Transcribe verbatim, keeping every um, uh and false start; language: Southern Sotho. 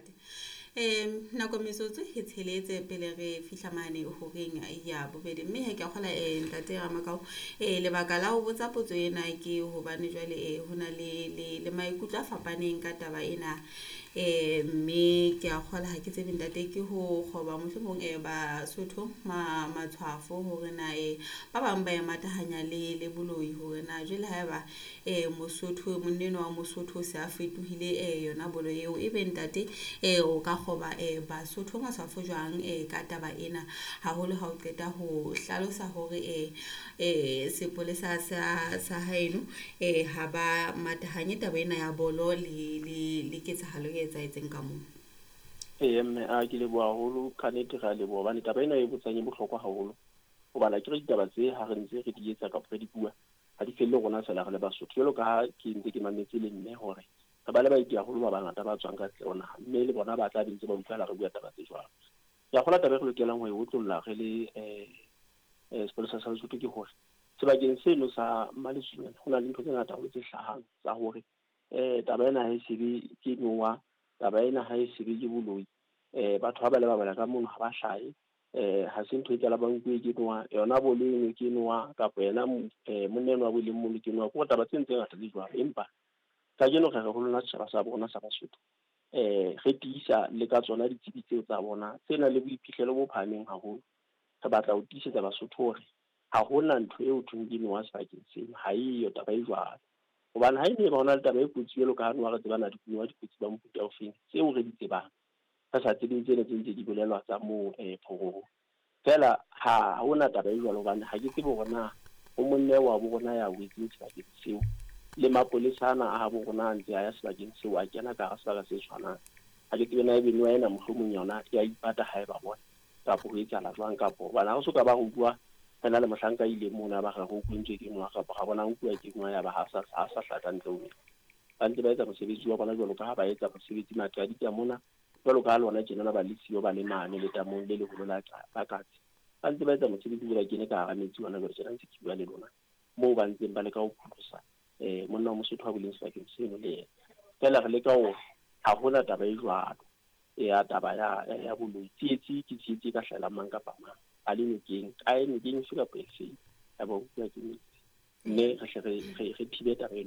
Ntate. Um nako metsotso e tsheletse pele re fihla mane horeng ya bobedi, mme he ke a kgola um ntate Ramakao, um lebaka la ho botsa potso ena ke hobane jwale um ho na le le le maikutlo a fapaneng ka taba ena. Um mme ke a kgola ha ke tsebe ntate ke ho kgoba mohlomong um Basotho ma matshwafo hore na um ba bang ba e matahanya le le boloi, hore na jwale haeba um Mosotho monna enwa wa Mosotho o se a fetohile um yona bolo eo, ebe ntate um o ka kgoba um Basotho matshwafo jwang um ka taba ena, haholo ha o qeta ho hlalosa hore um um sepolesa sa sa haeno um ha ba matahanye taba ena ya bolo le le le ketsahalo e etsahetseng ka moo. Ee mme, a ke leboha haholo, ka nnete re a leboha hobane taba ena e botsang e bohlokwa haholo. Hobane akere ditaba tse ha re ntse re di etsa kapa re di bua, ha di felle rona feela re le Basotho. Jwalo ka ha ke ntse ke mametse le mme hore re ba le baeti haholo ba bangata ba tswang ka ntle ho naha, mme le bona ba tla be ntse ba utlwahala re bua taba tse jwalo. Ke a kgolwa taba e re lokelang ho e otlolla re le um sepolesa sa Lesotho ke hore sebakeng seno sa Mmaletswinana ho na le ntho tse ngata haholo tse hlahang tsa hore um taba ena ha e sebe ke noha, taba ena ha e sebe ke boloi. Um batho ha ba le ba bala ka mono ha ba hlahe, um ha se ntho e tsala ba nkuwe ke noha, yona bolo eno ke noha kapa yena monna enwa wa boleng mono ke noha. Ke hore taba tseno tse ngata tse jwalo, empa kajeno re re ho lona setjhaba sa rona sa Basotho, um re tiisa le ka tsona ditsebi tseo tsa bona tse nang le boiphihlelo bo phahameng haholo. Re batla ho tiisetsa Basotho hore ha hona ntho eo thweng ke noha sebakeng seno, ha eyo taba e jwalo. Hobane ha e ne ba hona le taba e kotsi jwalo ka ha noha re tseba na dinoha di kotsi ba mofuta ofeng, tseo re di tsebang, re sa tsebeng tsena tse ntse di bolelwa tsa moo um phororo. Feela ha hona taba e jwalo hobane ha ke tsebe hore na ho monna wa bo rona ya wetseng sebakeng seo, le mapolesa ana a habo rona a ntse a ya sebakeng seo, a kena ka hara sebaka se tshwanang. Ha ke tsebe na ebe noha ena mohlomong yona ya ipata ha e ba bona, kapa ho etsahala jwang, kapo hobane ha re soka ba re utlwa re na le mohlanka a ileng mono a ba re re kwentswe ke noha, kapa ra bona nkuwa ke noha ya ba ha sa ha sa hlaha ka ntle ho metsi. Ba ntse ba etsa mosebetsi wa bona jwalo ka ha ba etsa mosebetsi Maqadika mona, jwalo ka ha lona tjenana ba le siyo ba le mane letamong le leholo la la Katse. Ba ntse ba etsa mosebetsi ba kene ka hara metsi hona jwale tjena ntse ke bua le lona, moo ba ntseng ba leka ho pholosa um monna wa Mosotho a boleng sebakeng seno le yena. Feela re leka hore ha hona taba e jwalo ya taba ya ya boloi. Tsietsi ke tsietsi e ka hlahelang mang kapa mang, a le nokeng, kae nokeng efe kapa efeng, ya ba utlwa ke metsi. Mme re hle re re re thibe taba eno.